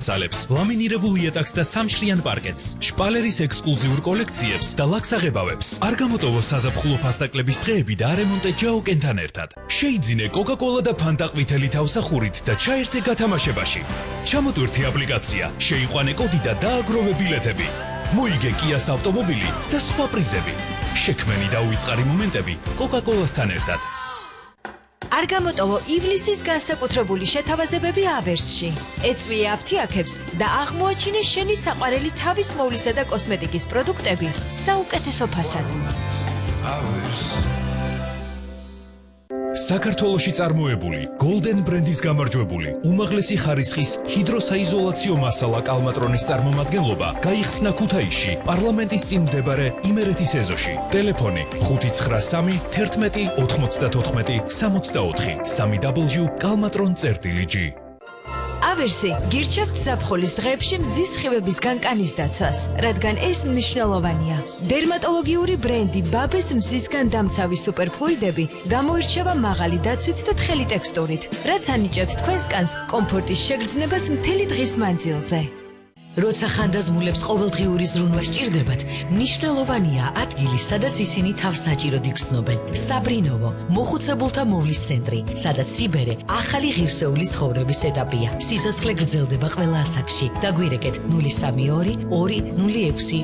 სალებს, ლამინირებულ იატაკს და სამშრიან პარკეტს, შპალერის ექსკლუზიურ კოლექციებს და ლაქსაღებავებს. არ გამოტოვო საზაფხულო ფასტაკლების დღეები და არემონტე ჯაოკენთან ერთად. შეიძინე კოკა-კოლა და ფანტა ყვითელი თავსახურით და ჩაერთე გათამაშებაში. ჩამოტვირთე აპლიკაცია, შეიყვანე კოდი და დააგროვე ბილეთები. მოიგე კიას ავტომობილი და სხვა პრიზები. შექმენი და უიწყარი მომენტები კოკა-კოლასთან ერთად. არ გამოტოვო ივლისის განსაკუთრებული შეთავაზებები ავერსში. ეწვიე აფთიაქებს და აღმოაჩინე შენი საყვარელი თავის მოვლისა და კოსმეტიკის პროდუქტები საუკეთესო ფასად. საქართველოში წარმოებული Golden ბრენდის გამარჯვებული უმაღლესი ხარისხის ჰიდროსაიზოლაციო მასალა კალმატრონის წარმომადგენლობა გაიხსნა ქუთაისში პარლამენტის წინ მდებარე იმერეთის ეზოში. ტელეფონი 593 11 94 64 www.kalmatron.gr. ავერსი გირჩევთ ზაფხულის დღეებში მზის სხივების განკანის დაცვას, რადგან ეს მნიშვნელოვანია. დერმატოლოგიური ბრენდი ბაბეს მზისგან დამცავი სუპერფლუიდები გამოირჩევა მაღალი დაცვით და თხელი ტექსტურით, რაც ანიჭებს თქვენს კანს კომფორტის შეგრძნებას მთელი დღის მანძილზე. როცა ხანდაზმულებს ყოველდღიური ზრუნვა სჭირდებათ, მნიშვნელოვანია ადგილი, სადაც ისინი თავს საჭიროდ იგრძნობენ. საბრინოვო, მოხუცებულთა მოვლის центრი, სადაც სიბერე ახალი ღირსეული ცხოვრების ეტაპია. სიცოცხლე გრძელდება ყველა ასაკში. დაგვირეკეთ 032 206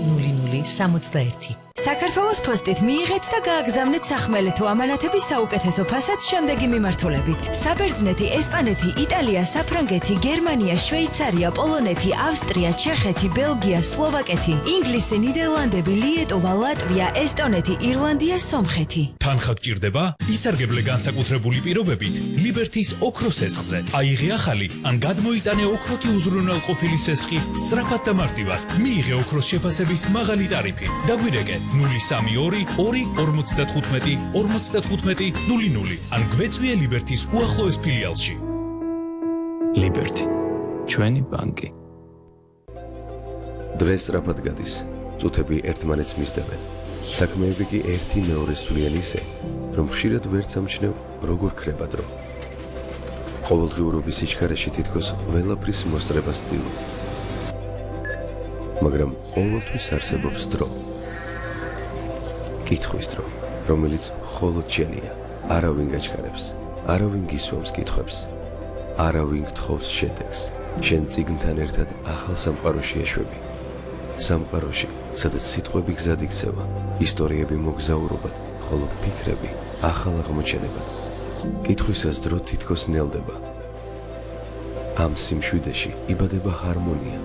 0061. საქართველოს ფოსტით მიიღეთ და გააგზავნეთ სახმელეთო ამანათების საუკეთესო ფასად შემდეგი მიმართულებით. საბერძნეთი, ესპანეთი, იტალია, საფრანგეთი, გერმანია, შვეიცარია, პოლონეთი, ავსტრია, ჩეხეთი, ბელგია, სლოვაკეთი, ინგლისი, ნიდერლანდები, ლიეტუვა, ლატვია, ესტონეთი, ირლანდია, სომხეთი. თანხა გჭირდება? ისარგებლე განსაკუთრებული პირობებით ლიბერთის ოქროს სესხზე. აიღე ახალი ან გადმოიტანე ოქროთი უზრუნველყოფილი სესხი სწრაფად და მარტივად. მიიღე ოქროს შეფასების მაღალი ტარიფი. დაგვირეკე 032 255 55 00 ან გვეწვიე ლიბერთის უახლოეს ფილიალში. ლიბერთი, ჩვენი ბანკი. დღეს სწრაფად გადის, წუთები ერთმანეთს მისდევენ. საქმეები კი ერთი მეორეს სვლიან ისე, რომ ხშირად ვერც ამჩნევ, როგორ ქრება დრო. ყოველდღიურობის სიჩქარეში თითქოს ყველაფრის მოსწრებას ვცდილობ. მაგრამ ყოველთვის არსებობს დრო. კითხვის დრო, რომელიც მხოლოდ შენია. არავინ გაჩქარებს, არავინ გისვამს კითხვებს, არავინ გთხოვს შედეგს. შენ წიგნთან ერთად ახალ სამყაროში ეშვები. სამყაროში, სადაც სიტყვები გზად იქცევა, ისტორიები მოგზაურობად, ხოლო ფიქრები ახალ აღმოჩენებად. კითხვისას დრო თითქოს ნელდება. ამ სიმშვიდეში იბადება ჰარმონია.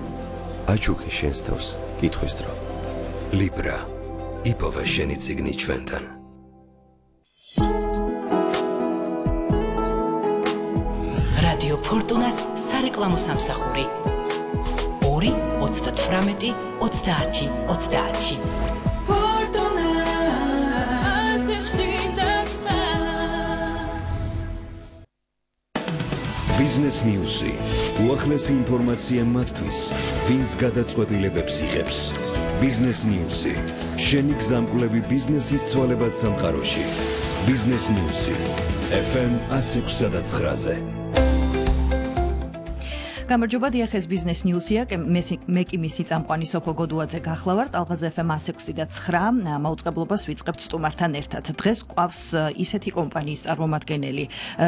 აჩუქე შენს თავს კითხვის დრო. ლიბრა, იპოვე შენი წიგნი ჩვენთან. რადიო ფორტუნას სარეკლამო სამსახური 2 38 30 30. ბიზნეს ნიუსი, უახლესი ინფორმაცია მათთვის, ვინც გადაწყვეტილებებს იღებს. ბიზნეს ნიუსი, შენი გზამკვლევი ბიზნესის ცვალებად სამყაროში. ბიზნეს ნიუსი, FM 106.9-ზე. გამარჯობა, დიახეს ბიზნეს ნიუსია, მე კი მისი წამყვანი სოფო გოდუაძე გახლავართ, ალღაზ FM 106.9 მაუწყებლობას ვიწყებთ სტუმართან ერთად. დღეს გვყავს ისეთი კომპანიის წარმომადგენელი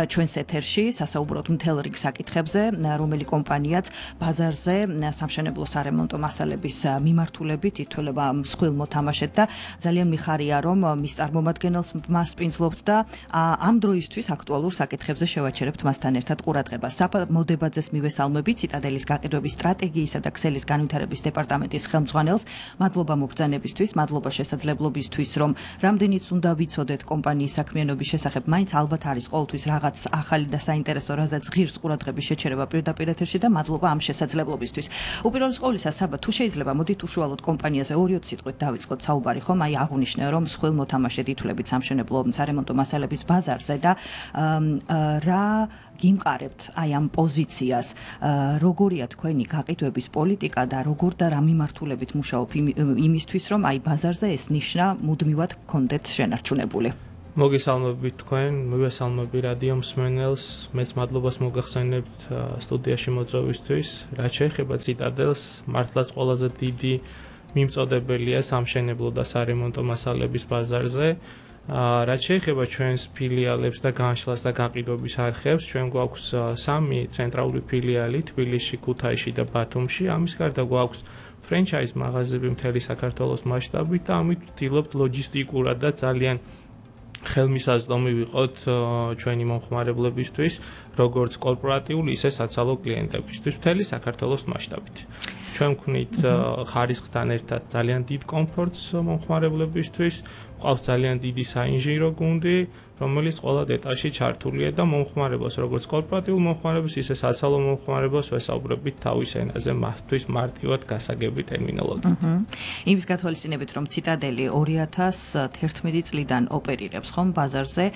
ჩვენს ეთერში, სასაუბროთ მთელ რიგ საკითხებზე, რომელი კომპანიაც ბაზარზე სამშენებლო სარემონტო მასალების მიმართულებით ითვლება მსხვილ მოთამაშედ და ძალიან მიხარია, რომ მის წარმომადგენელს მას პინძლობთ და ამ დროისთვის აქტუალურ საკითხებზე შევაჩერებთ მასთან ერთად ყურადღებას. საფა მოდებაძეს მივესალმებით ციტადელის გაყიდვების სტრატეგიისა და ქსელის განვითარების დეპარტამენტის ხელმძღვანელს. მადლობა მობრძანებისთვის, მადლობა შესაძლებლობისთვის, რომ რამდენიც უნდა ვიცოდეთ კომპანიის საქმიანობის შესახებ, მაინც ალბათ არის ყოველთვის რაღაც ახალი და საინტერესო, რაზეც ღირს ყურადღების შეჩერება პირდაპირ ეთერში და მადლობა ამ შესაძლებლობისთვის. უპირველეს ყოვლისა, საბა თუ შეიძლება, მოდით უშუალოდ კომპანიაზე 2-3 სიტყვით დავიწყოთ საუბარი, ხომ? აი აღვნიშნე, რომ მსხვილ მოთამაშედ ითვლებით სამშენებლო სარემონტო მასალების ბაზარზე და რა გიმყარებთ აი ამ პოზიციას, როგორია თქვენი გაყიდვების პოლიტიკა და როგორ და რა მიმართულებით მუშაობ იმისთვის, რომ აი ბაზარზე ეს ნიშნა მუდმივად გქონდეთ შენარჩუნებული. მოგესალმებით თქვენ, მივესალმები რადიო მსმენელს, მეც მადლობას მოგახსენებთ სტუდიაში მოწვევისთვის. რაც შეეხება ციტადელს, მართლაც ყველაზე დიდი მიმწოდებელია სამშენებლო და სარემონტო მასალების ბაზარზე. რაც შეეხება ჩვენს ფილიალებს და განშლას და გაყიდვების არხებს, ჩვენ გვაქვს 3 ცენტრალური ფილიალი თბილისში, ქუთაისში და ბათუმში. ამის გარდა გვაქვს ფრენჩაიზ მაღაზიები მთელი საქართველოს მასშტაბით და ამით ვცდილობთ ლოჯისტიკურად და ძალიან ხელმისაწვდომი ვიყოთ ჩვენი მომხმარებლებისთვის, როგორც კორპორატიული, ისე საცალო კლიენტებისთვის მთელი საქართველოს მასშტაბით. ჩვენ ვქნით ხარისხთან ერთად ძალიან დიდ კომფორტს მომხმარებლებისთვის, გვყავს ძალიან დიდი საინჟინრო გუნდი, რომელიც ყველა დეტალში ჩართულია და მომხმარებას, როგორც კორპორატიულ მომხმარებას, ისე საცალო მომხმარებას ვესაუბრებით თავის ენაზე, მათთვის მარტივად გასაგები ტერმინოლოგიით. იმის გათვალისწინებით, რომ ციტადელი 2011 წლიდან ოპერირებს, ხომ, ბაზარზე,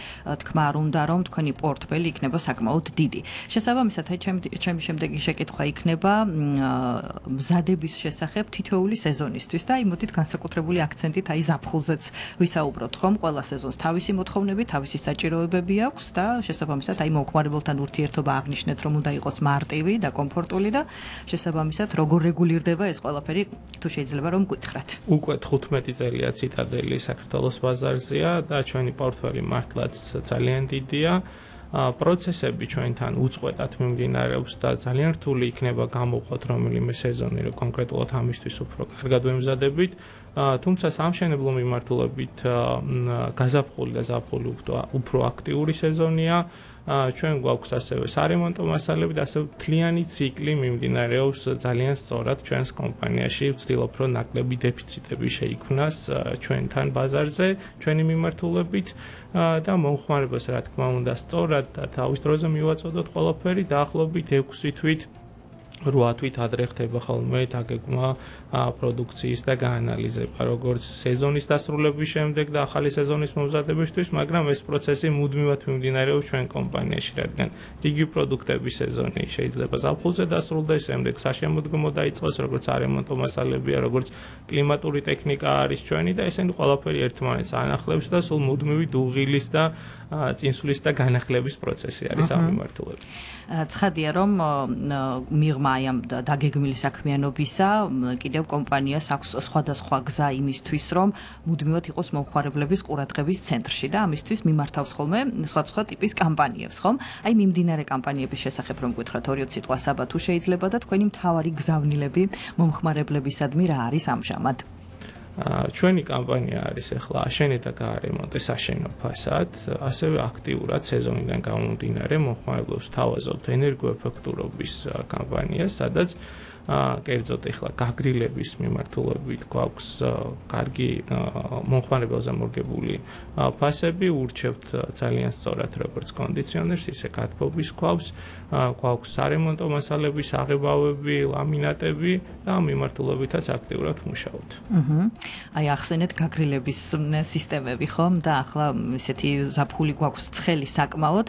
თქმა არ უნდა, რომ თქვენი პორტფელი იქნება საკმაოდ დიდი. შესაბამისად, ჩემი შემდეგი შეკითხვა იქნება მზადების შესახებ თითოეული სეზონისთვის და იმოდით განსაკუთრებული აქცენტით აი ზაფხულზეც ვისაუბროთ, ხომ, ყველა სეზონს თავისი მოთხოვნები, თავისი საჭიროებები აქვს და შესაბამისად აი მომხმარებელთან ურთიერთობა აღნიშნეთ, რომ უნდა იყოს მარტივი და კომფორტული და შესაბამისად როგორ რეგულირდება ეს ყველაფერი, თუ შეიძლება რომ გითხრათ. უკვე 15 წელია ციტადელი საქართველოს ბაზარზეა და ჩვენი პორტფელი მართლაც ძალიან დიდია. პროცესები ჩვენთან უწყვეტად მიმდინარეობს და ძალიან რთული იქნება გამოვხოთ რომელიმე სეზონი, რომ კონკრეტულად ამისთვის უფრო კარგად ვემზადებით. თუმცა სამშენებლო მიმართულებით გაზაფხული და ზაფხული უფრო აქტიური სეზონია. ჩვენ გვაქვს ასევე სარემონტო მასალები და ასევე მთლიანი ციკლი მიმდინარეობს ძალიან სწორად ჩვენს კომპანიაში. ვცდილობ რომ ნაკლები დეფიციტები შეიქმნას ჩვენთან ბაზარზე, ჩვენი მიმართულებით და მომხმარებას რა თქმა უნდა სწორად და თავის დროზე მივაწოდოთ ყველაფერი დაახლოებით 6 თვით 8 თვით ადრე ხდება ხოლმე დაგეგმვა პროდუქციის და გაანალიზება როგორც სეზონის დასრულების შემდეგ და ახალი სეზონის მომზადებისთვის, მაგრამ ეს პროცესი მუდმივად მიმდინარეობს ჩვენ კომპანიაში, რადგან იგი პროდუქტების სეზონი შეიძლება ზაფხულზე დასრულდეს, შემდეგ საშემოდგომო დაიწყოს, როგორც სარემონტო მასალებია, როგორც კლიმატური ტექნიკა არის ჩვენი და ესენი ყველაფერი ერთმანეთს ანახლებს და სულ მუდმივი დუღილის და წინსვლის და განახლების პროცესი არის ამ მიმართულებით. ცხადია რომ მიღმა აი ამ დაგეგმილი საქმიანობისა კიდევ კომპანიას აქვს სხვადასხვა გზა იმისთვის რომ მუდმივად იყოს მომხმარებლების ყურადღების ცენტრში და ამისთვის მიმართავს ხოლმე სხვადასხვა ტიპის კამპანიებს, ხომ? აი მიმდინარე კამპანიების შესახებ რომ გითხრათ 2 სიტყვა საბა თუ შეიძლება და თქვენი მთავარი გზავნილები მომხმარებლებისადმი რა არის ამჟამად? ჩვენი კამპანია არის ახლა აშენე და გაარემონტე საშენო ფასად, ასევე აქტიურად სეზონიდან გამომდინარე მომხმარებლებს თავაზობთ ენერგოეფექტურობის კამპანიას, სადაც კერძოდ ახლა გაგრილების მიმართულებით გვაქვს კარგი მომხმარებელზე მორგებული ფასები, ურჩევთ ძალიან სწორად როგორც კონდიციონერს, ისე გათბობის ქვავს, გვაქვს სარემონტო მასალების აღებავები, ლამინატები და ამ მიმართულებითაც აქტიურად ვმუშაობთ. აი ახსენეთ გაგრილების სისტემები, ხომ? და ახლა ისეთი ზაფხული გვაქვს ცხელი საკმაოდ,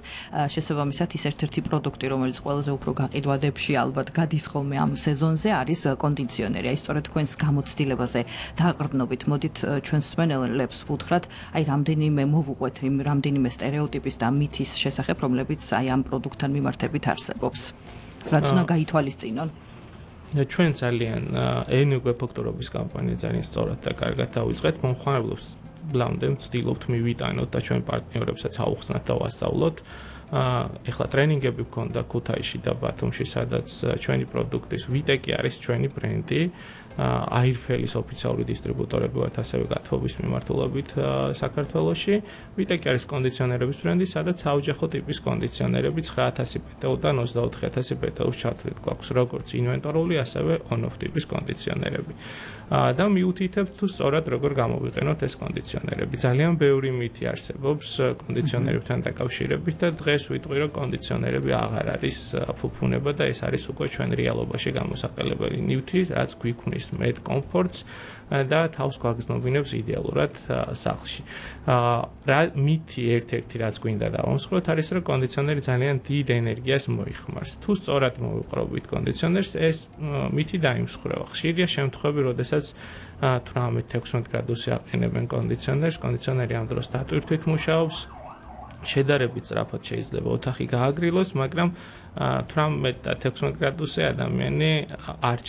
შესაბამისად ის ერთ-ერთი პროდუქტი, რომელიც ყველაზე უფრო გაყიდვადებში ალბათ გადის ხოლმე ამ სეზონზე არის კონდიციონერი. აი სწორედ თქვენს გამოცდილებაზე დააყრდნობით, მოდით ჩვენს მსმენელებს ვუთხრათ, აი რამდენიმე მოვუყვეთ იმ რამდენიმე სტერეოტიპის და მითის შესახებ, რომლებიც აი ამ პროდუქტთან მიმართებით არსებობს. რაც უნდა გაითვალისწინონ. ჩვენ ძალიან ენერგოეფექტურობის კამპანია ძალიან სწორად და კარგად დავიწყეთ. მომხმარებლებს ბლამდე ვცდილობთ მივიტანოთ და ჩვენ პარტნიორებსაც აუხსნათ და ვასწავლოთ. ეხლა ტრენინგები გვქონდა ქუთაისში და ბათუმში, სადაც ჩვენი პროდუქტის ვიტეკი არის ჩვენი ბრენდი. აირფელის ოფიციალური დისტრიბუტორები ვართ ასევე გათბობის მიმართულებით საქართველოში. ვიტეკი არის კონდიციონერების ბრენდი, სადაც საოჯახო ტიპის კონდიციონერები 9000 პეტეოდან 24000 პეტეოს ჩათვლით გვაქვს, როგორც ინვენტორული, ასევე on-off ტიპის კონდიციონერები. და მიუთითებთ თუ სწორად როგორ გამოვიყენოთ ეს კონდიციონერები. ძალიან ბევრი მითი არსებობს კონდიციონერებთან დაკავშირებით და დღეს დღეს ვიტყვი რომ კონდიციონერები აღარ არის ფუფუნება და ეს არის უკვე ჩვენ რეალობაში გამოსაყენებელი ნივთი, რაც გვიქმნის მეტ კომფორტს და თავს გვაგრძნობინებს იდეალურად სახლში. რა მითი ერთ-ერთი რაც გვინდა დავამსხვროთ არის რომ კონდიციონერი ძალიან დიდ ენერგიას მოიხმარს. თუ სწორად მოვიყრობით კონდიციონერს, ეს მითი დაიმსხვრევა. ხშირია შემთხვევები, როდესაც 18-16 გრადუსი აყენებენ კონდიციონერს, კონდიციონერი ამ დროს დატვირთვით მუშაობს. შედარებით სწრაფად შეიძლება ოთახი გააგრილოს, მაგრამ 18 და 16 გრადუსზე ადამიანი არ